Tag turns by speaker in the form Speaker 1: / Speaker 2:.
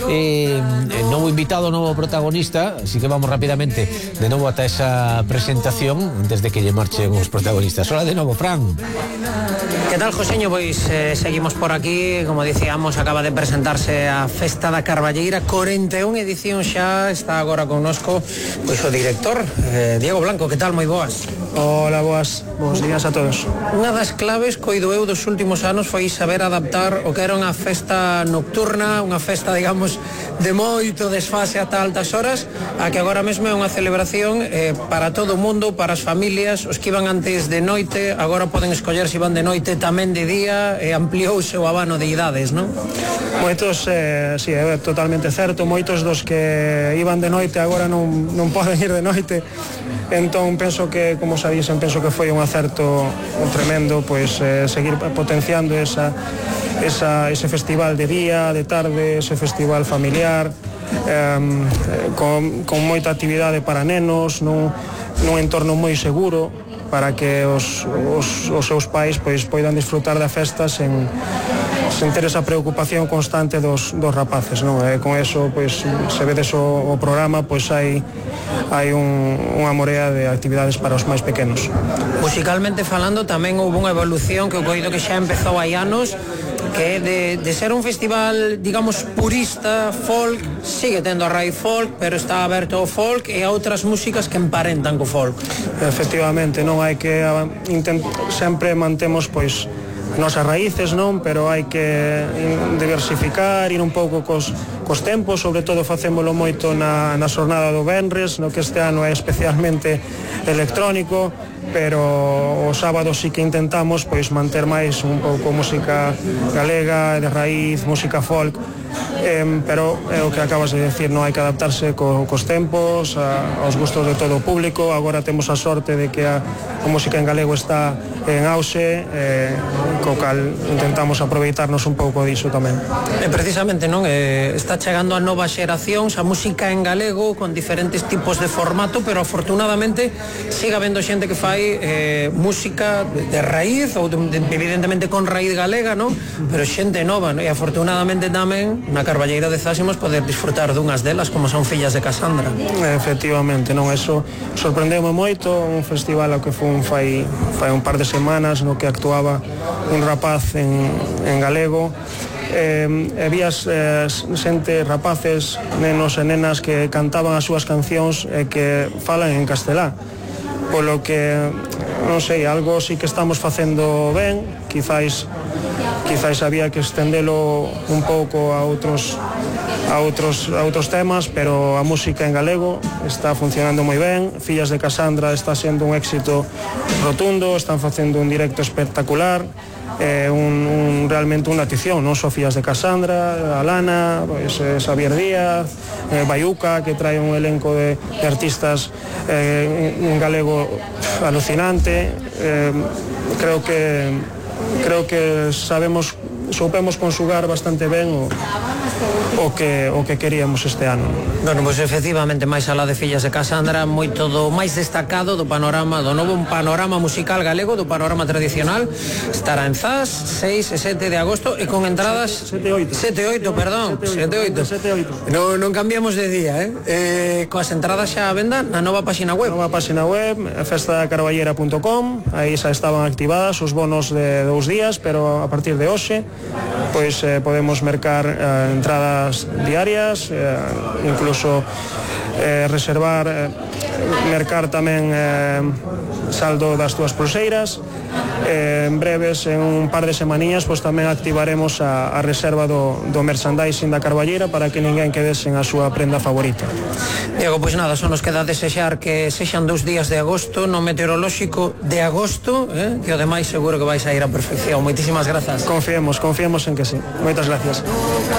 Speaker 1: Novo invitado, novo protagonista, así que vamos rápidamente de novo ata esa presentación antes de que lle marchen os protagonistas. Hola de novo, Fran.
Speaker 2: Que tal, Joseño? Pois seguimos por aquí. Como dicíamos, acaba de presentarse a Festa da Carballeira, 41 edición xa. Está agora connosco pois o director, Diego Blanco. Que tal? Moi boas.
Speaker 3: Hola, boas días a todos.
Speaker 2: Unha das claves, coido eu, dos últimos anos foi saber adaptar o que era unha festa nocturna, unha festa, digamos, de moito desfase ata altas horas, a que agora mesmo é unha celebración para todo o mundo, para as familias. Os que iban antes de noite agora poden escoller se iban de noite tamén de día, e ampliouse o abano de idades, non?
Speaker 3: Moitos, sí, é totalmente certo. Moitos dos que iban de noite agora non poden ir de noite. Entón penso que, como xa dixen, penso que foi un acerto tremendo, pois seguir potenciando ese festival de día, de tarde, ese festival familiar, con moita actividade para nenos, nun entorno moi seguro, para que os seus pais pois poidan disfrutar da festa sen ter esa preocupación constante dos rapaces, non? Con eso, pois, se vedes o programa, pois hai unha morea de actividades para os máis pequenos.
Speaker 2: Musicalmente falando, tamén houve unha evolución que eu coido que xa empezou hai anos, que é de ser un festival, digamos, purista, folk, sigue tendo a raíz folk, pero está aberto ao folk e a outras músicas que emparentan co folk.
Speaker 3: Efectivamente, non hai que sempre mantemos, pois, nosas raíces, non? Pero hai que diversificar, ir un pouco cos tempos, sobre todo facémolo moito na xornada do venres, no que este ano é especialmente electrónico, pero o sábado sí que intentamos pois manter máis un pouco música galega, de raíz, música folk, pero é o que acabas de decir, non hai que adaptarse cos tempos, aos gustos de todo o público. Agora temos a sorte de que a música en galego está en auxe, co cal intentamos aproveitarnos un pouco diso tamén.
Speaker 2: Precisamente, non? Está chegando a novas xeracións a música en galego con diferentes tipos de formato, pero afortunadamente sigue habendo xente que fai música de raíz, ou evidentemente con raíz galega, non? Pero xente nova, non? E afortunadamente tamén na Carballeira de Zas imos poder disfrutar dunhas delas, como son Fillas de Casandra.
Speaker 3: Efectivamente, non? Eso sorprendeume moito, un festival ao que fun fai un par de semanas, no que actuaba un rapaz en galego, e vías xente, rapaces, nenos e nenas que cantaban as súas cancións e que falan en castelá, polo que, non sei, algo sí que estamos facendo ben. Quizais había que estendelo un pouco a outros temas, pero a música en galego está funcionando moi ben. Fillas de Casandra está sendo un éxito rotundo, están facendo un directo espectacular, realmente unha atención, non só Fillas de Casandra, Alana, pois, Xavier Díaz, Baiuca, que trae un elenco de artistas en galego alucinante. Creo que soupemos conjugar bastante ben o que queríamos este ano.
Speaker 2: Bueno, pois efectivamente, máis alá de Fillas de Casandra, moito do máis destacado do panorama, do novo panorama musical galego, do panorama tradicional, estará en Zas 6 e 7 de agosto e con entradas 7 e 8, perdón, 7 e 8. Non cambiamos de día, coas entradas xa a venda na nova página web.
Speaker 3: Nova página web, festadacarballera.com, aí xa estaban activadas os bonos de 2 días, pero a partir de hoxe pois podemos mercar entradas diarias, incluso reservar, mercar tamén saldo das túas pulseiras. En breves, en un par de semanías, pois tamén activaremos a reserva do merchandising da Carballeira para que ninguén quede sen a súa prenda favorita.
Speaker 2: Diego, pois nada, só nos queda desexar que sexan 2 días de agosto no meteorolóxico de agosto, que o demais seguro que vais a ir a perfección. Moitísimas grazas.
Speaker 3: Confiemos en que sí. Moitas gracias.